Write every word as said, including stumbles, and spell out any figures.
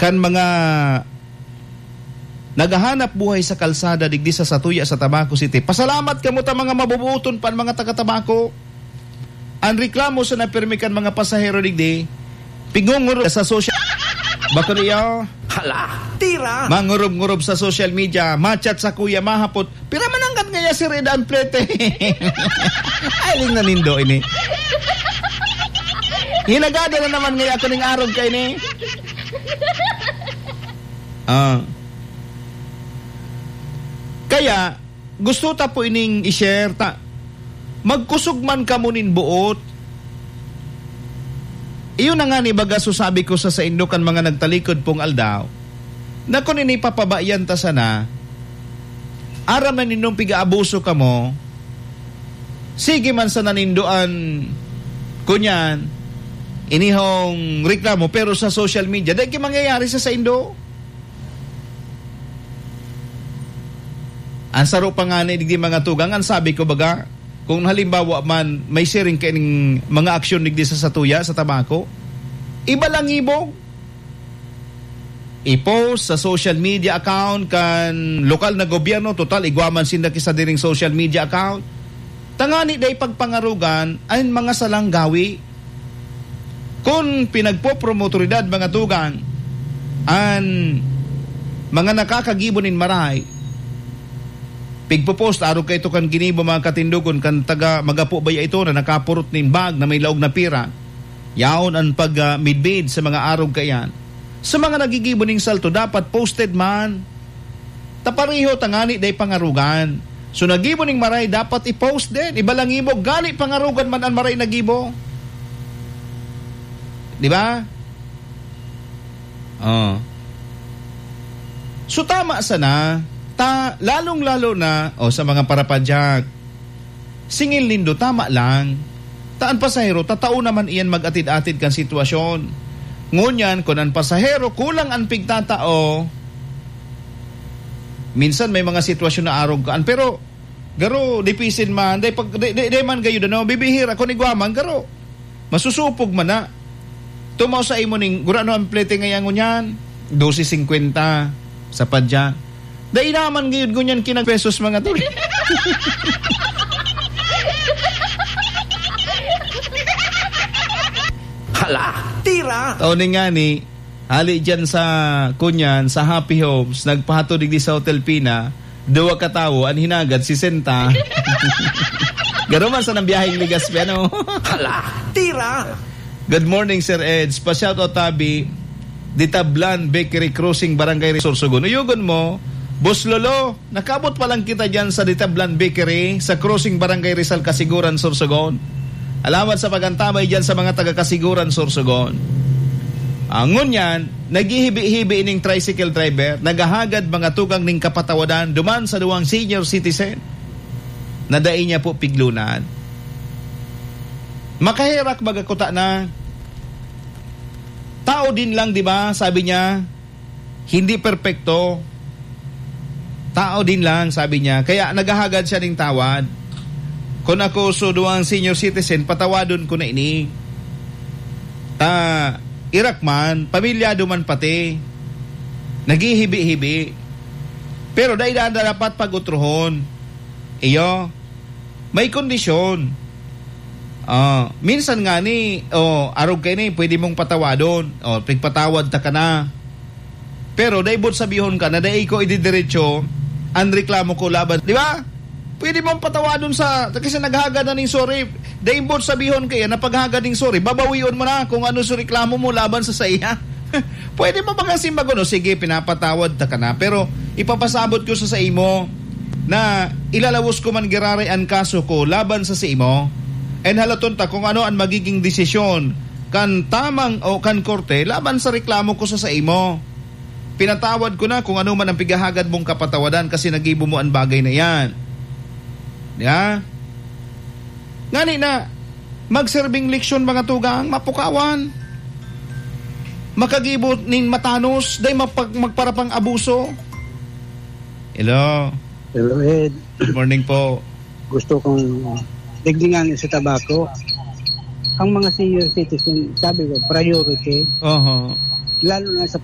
kan mga naghahanap buhay sa kalsada digdi sa satuya sa Tabaco City. Pasalamat kamo ta mga mabubuoton pa an mga taga Tabaco. An reklamo sa napirmi kan mga pasahero digdi, pigunguro sa social, bako niyo? Hala, tira! Mangurob-ngurob sa social media, ma-chat sa kuya, mahapot, "Pira man ang kat ngaya si Red Amplete?" Ay, ling nanindo ini. Hinagada na naman ngaya ako ning arog kaini. Ah. Kaya, gusto ta po ining i-share ta. Magkusog man kamo nin boot. Iyo na nga ni baga so sabi ko sa saindo kan mga nagtalikod pong aldaw, na kun ini papabayan ta sana, aram na nindong pig-aabuso kamo, sige man sana nindo an, kunyan, inihong reklamo, pero sa social media, dai ki mangyayari sa saindo. An saro pa ngani digdi, mga tugang, an sabi ko baga, kung halimbawa man may siring kaining mga aksyon digdi sa satuya, sa Tabaco, ibalangibog. I-post sa social media account kan lokal na gobyerno, total igwa man sinda ki sadiring social media account. Tangani dai pagpangarogan an mga salang gawi. Kun pinagpopromotoridad, mga tugang, an mga nakakagibo nin maray, pigpopost, arog kaito kan ginibo, mga katindogon, kan taga Magapo baya ito na nakapurot nin bag na may laog na pira. Yaon an pag, ah, midbid sa mga arog kaiyan. Sa mga nagigibo ning salto, dapat posted man. Ta pareho tangani dai pangarogan. So, nagibo ning maray, dapat i-post din. Ibalangibog, gani pangarogan man an maray nagibo. Di ba? Oh. So, tama sana, ta, lalong-lalo na, o, sa mga parapadyak. Singil nindo, tama lang. Ta an pasahero, tatao naman iyan mag-atid-atid kan sitwasyon. Ngunyan, kun an pasahero kulang an pigtatao, minsan may mga sitwasyon na arog kaan. Pero, garo, dipisin man, dai pag, dai, dai, dai man gayud, ano, bibihira, kun igwa man, garo. Masusupog man na. Tumaw sa imo ning, gurano an plete ngaya ngunyan? Dose singkwenta sa padya. Dai naman gayud ngunyan kinag pesos, mga tol. Hala, tira! Tao ni ngani, hali dyan sa, kunyan, sa Happy Homes, nagpahatod digdi sa Hotel Pina, duwa ka tawo, an hinagad, sesenta. Garo man sa nang biyaheng Legazpi, ano? Hala, tira! Good morning, Sir Eds. Pa-shoutout tabi, di Tablan Bakery Crossing, Barangay Rizal, Sorsogon. Uyogon mo, Boss Lolo, nakabot pa lang kita dyan sa di Tablan Bakery, sa Crossing, Barangay Rizal, Casiguran, Sorsogon. Alamat sa pagantabay dyan sa mga taga Casiguran, Sorsogon. Ah, ngunyan, naghihibi-hibi ining tricycle driver, naghahagad mga tugang ning kapatawadan duman sa duwang senior citizen na dai niya po piglunan. Makaherak baga kuta na. Tao din lang, di ba? Sabi niya, hindi perpekto. Tao din lang, sabi niya. Kaya naghahagad siya ning tawad. Kun ako so duwang senior citizen, patawadon ko na ini. Ta, irak man, pamilyado man pati. Naghihibi-hibi. Pero dai na dapat pag-utrohon. Iyo, may kondisyon. Ah, minsan ngani, oh, arog kaini, pwede mong patawadon. Oh, pigpatawad ta ka na. Pero dai boot sabihon ka na dai ko ididiretso an reklamo ko laban, di ba? Pwede mong patawadon sa, kasi naghagad na ning sorry. Dai boot sabihon kaya na paghagad ning sorry, babawion mo na kung ano sa reklamo mo laban sa saiya. Pwede mo bang simbagon, "O sige, pinapatawad ta ka na, pero ipapasabot ko sa saimo na ilalawos ko man giraray an kaso ko laban sa saimo, and halaton ta kung ano an magiging desisyon kan tamang o kan korte laban sa reklamo ko sa saimo. Pinatawad ko na kung ano man ang pighahagad mong kapatawadan kasi nagibo mo an bagay na iyan." Di ba? Ngani na, magserbing leksyon, mga tugang, mapukawan. Makagibo nin matanos, dai mapag-, magparapang abuso. Hello. Hello, Ed. Good morning po. Gusto kong digdingan sa Tabaco. Ang mga senior citizen, sabi ko, priority. Oho. Lalo na sa